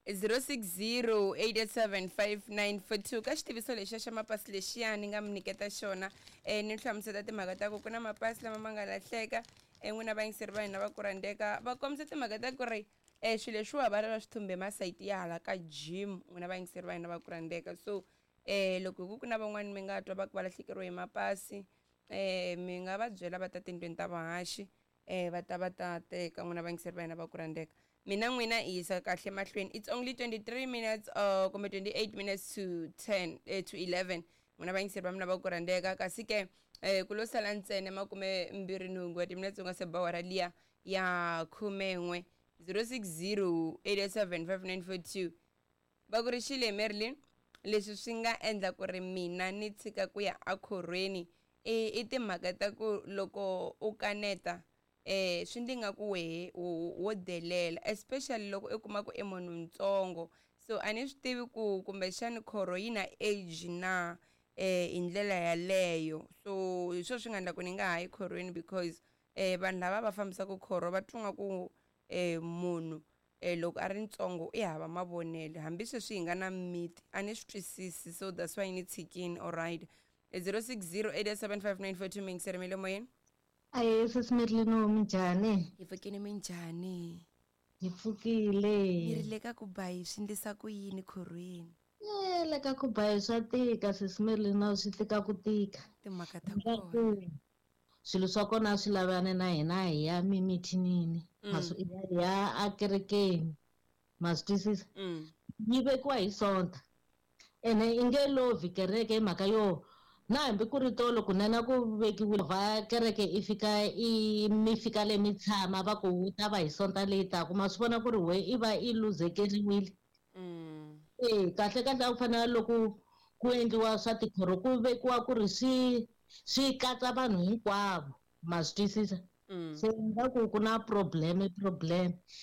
0608875942 ka xitiviso lexiya xa mapasi lexiya ni nga mi nyiketa xona ni hlamuseta timhaka ta ku ku na mapasi lama ma nga lahleka n'wina vayingiseri va hina va ku rhandzeka va kombisa timhaka ta ku ri swilo leswiwa va lava swi thumbe masayiti ya hala ka gym n'wina vayingiseri va hina va ku rhandzeka. So loko hi ku ku na van'wani mi nga twa va ku va lahlekeriwe hi mapasi mi nga va byela va ta tindlwini ta vahaxi va ta va ta teka n'wina vayingiseri va hina va ku rhandzeka. Mina n'wina i yisa kahle mahlweni. It's only 23 minutes kumbe 28 minutes to 10 to 11 n'wina vayingiseri va mina va ku rhandzeka. Kasi ke ku lo sala ntsena 28 wa timinetse u nga se ba awara liya ya 11 0608875942. Va ku ri xile Marilyn, leswi swi nga endla ku ri mina ni tshika ku ya ekhorhweni i timhaka ta ku loko u kaneta swi ndzi nga ku wehe wo delela, especially loko i kuma ku i munhu ntsongo. So a ni swi tivi ku kumbexani khorho yi na age na hi ndlela yaleyo. So hi swona swi nga endla ku ni nga ha yi khorhweni because vanhu lava va fambisaka khorho va twa nga ku munhu loko a ri ntsongo i hava mavonelo, hambi sweswi hi nga na miti a ni swi twisisi. So that's why ni tshikini. Alright, 0608875942 mingiseri mi le moyeni. Aye sisi Merlin, minjhani? Hi pfukile, minjhani? Hi pfukile. Ni ri le ka ku bayi swi ndlisa ku yini khorhweni? Le ka ku bayi swa tika sisi Merlin, swi tika ku tika. Timhaka ta kona. Swilo swa kona swi lavana na hina hi ya mimithinini. Hi ya akerekeni. Ma swi twisisa? Yi vekiwa hi Sonta. Ene i nge lovhi kereke hi mhaka yo na hambi ku ri tolo kunene ku vekiwile va kereke i fika i mi fika le mi tshama va ku wu ta va hi Sonta leyi taka. Ma swi vona ku ri we i va i luzekeriwile. Kahle kahle a ku fanele loko ku endliwa swa tikhoro ku vekiwa ku ri swi katsa vanhu hinkwavo. Ma swi twisisa? Se nga ku ku na problem.